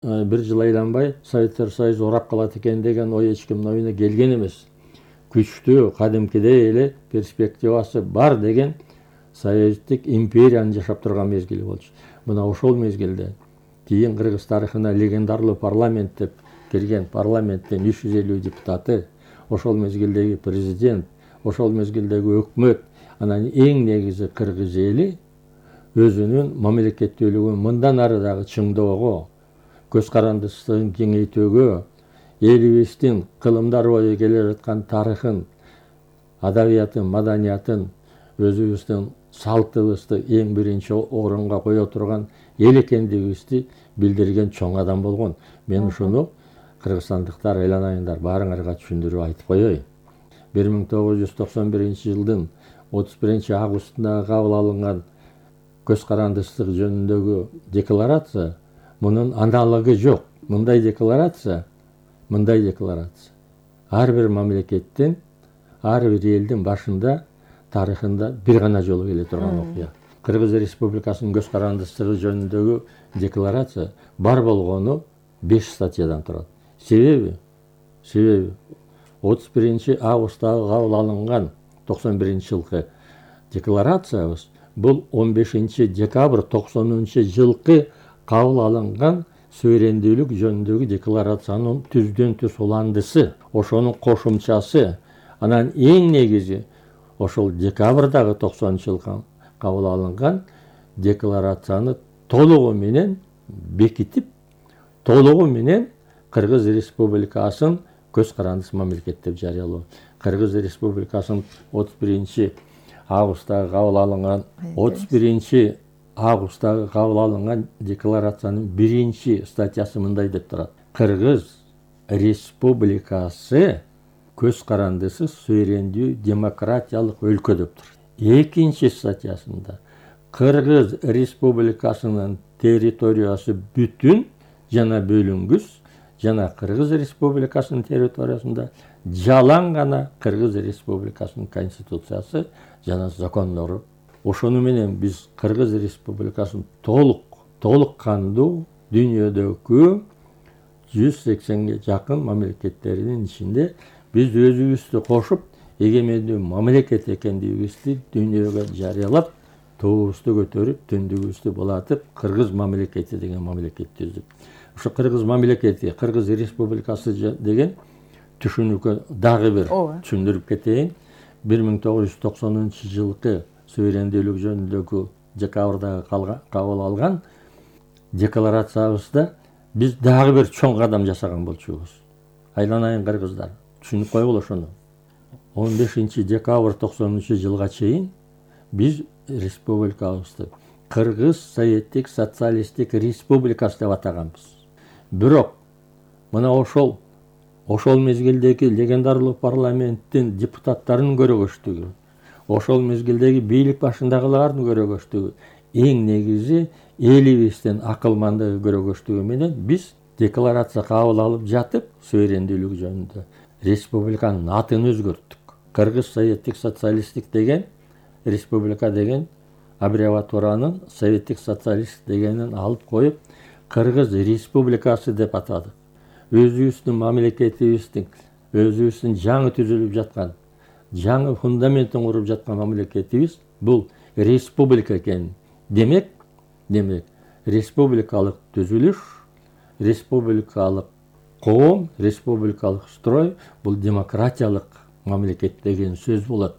бир жыл айланбай Советтер Союзу урап калат экен деген ой эч кимдин оюна келген эмес. Күчтүү, кадимкидей эле перспективасы бар деген Советтик империянын жашап турган мезгили болчу. Мына ошол мезгилде кийин кыргыз тарыхына легендарлуу парламент деп кирген парламенттин 350 депутаты, ошол мезгилдеги президент, ошол мезгилдеги өкмөт, анан эң негизи кыргыз эли өзүнүн мамлекеттүүлүгүн мындан ары дагы чыңоого, көз карандысын кеңейтүүгө, элибиздин кылымдар бою келе жаткан тарыхын, адабиятын, маданиятын, өзүбүздүн салтыбызды эң биринчи орунга кое турган эл экендигибизди билдирген чоң адам болгон. Мен ушуну кыргызстандыктар айланайыңдар, баарыңарга түшүндүрүп айтып коеюн. 1991 жылдын 31 августунда кабыл алынган көз карандыстык жөнүндөгү декларация, мунун аналогу жок. Мындай декларация ар бир мамлекеттин, ар бир элдин башында, тарыхында бир гана жолу келе турган окуя. Кыргыз Республикасынын көз карандыстыгы жөнүндөгү декларация бар болгону 5 статьядан турат. Себеби 31 августтагы кабыл алынган 91 жылкы декларациябыз бул 15 декабрь 90 жылкы кабыл алынган суверендүүлүк жөнүндөгү декларациянын түздөн түз уландысы, ошонун кошумчасы. Анан эң негизи ошол декабрдагы 90 жылкы кабыл алынган декларацияны толугу менен бекитип, толугу менен Кыргыз Республикасын көз карандыс мамлекет деп жарыялоо. Кыргыз Республикасынын 31 августтагы кабыл алынган декларациянын 1 статьясы мындай деп турат. Кыргыз Республикасы көз карандысыз суверендүү демократиялык өлкө деп турат. 2 статьясында Кыргыз Республикасынын территориясы бүтүн жана бөлүнгүс, жана Кыргыз Республикасынын территориясында жалаң гана Кыргыз Республикасынын конституциясы жана закондору. Ошону менен биз Кыргыз Республикасынын толук кандуу дүйнөдөгү 180ге жакын мамлекеттеринин ичинде биз өзүбүздү кошуп, эгемендүү мамлекет экендигибизди дүйнөгө жарыялап, туубузду көтөрүп, түндүгүбүздү булатып, Кыргыз мамлекети деген мамлекет түздүк. Ошо Кыргыз мамлекети, Кыргыз Республикасы деген түшүнүккө дагы бир түшүндүрүп кетейин. 1990 жылкы суверендүүлүк жөнүндөгү декабрдагы кабыл алган декларациябызда биз дагы бир чоң кадам жасаган болчубуз. Айланайын кыргыздар, түшүнүп койгула ошону. 15 декабрь 90 жылга чейин биз республикабызды Кыргыз Советтик Социалисттик Республикасы деп атаганбыз. Бирок мына ошол мезгилдеги легендарлуу парламенттин депутаттарынын көрөгөчтүгү, ошол мезгилдеги бийлик башындагылардын көрөгөчтүгү, эң негизи элибиздин акылмандыгы көрөгөчтүгү менен биз декларация кабыл алып жатып, суверендүүлүк жөнүндө республиканын атын өзгөрттүк. Кыргыз Советтик Социалисттик деген республика деген аббревиатуранын Советтик Социалист дегенин алып коюп, Кыргыз Республикасы деп атадык. Өзүбүздүн мамлекетибиздин, өзүбүздүн жаңы түзүлүп жаткан, жаңы фундаментин куруп жаткан мамлекетибиз бул республика экен. Демек, республикалык түзүлүш, республикалык коом, республикалык строй бул демократиялык мамлекет деген сөз болот.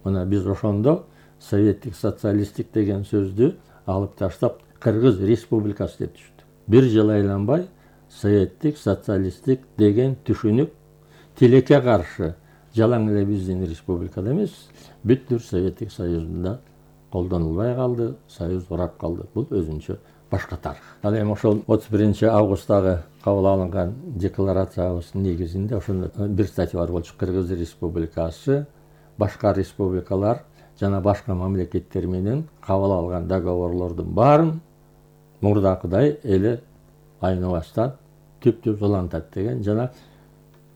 Мына биз ошондо Советтик Социалисттик деген сөздү алып таштап Кыргыз Республикасы деп түшүндүк. Бир жыл айланбай Советтик Социалисттик деген түшүнүк тилекке каршы жалаң эле биздин республикада эмес, бүттүр Советтик Союзунда колдонулбай калды, союз урап калды. Бул өзүнчө башка тарых. Ал эми ошол 31 августтагы кабыл алынган декларациябыздын негизинде ошондо бир статья бар болчу. Кыргыз Республикасы башка республикалар жана башка мамлекеттер менен кабыл алган договорлордун баарын мурдакыдай эле айныбастан түп-түз улантат деген жана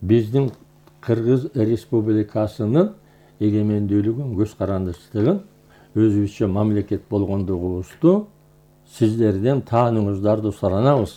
биздин Кыргыз Республикасынын эгемендүүлүгүн, көз карандыстыгын, өзүбүзчө мамлекет болгондугубузду сиздерден таанууңуздарды суранабыз.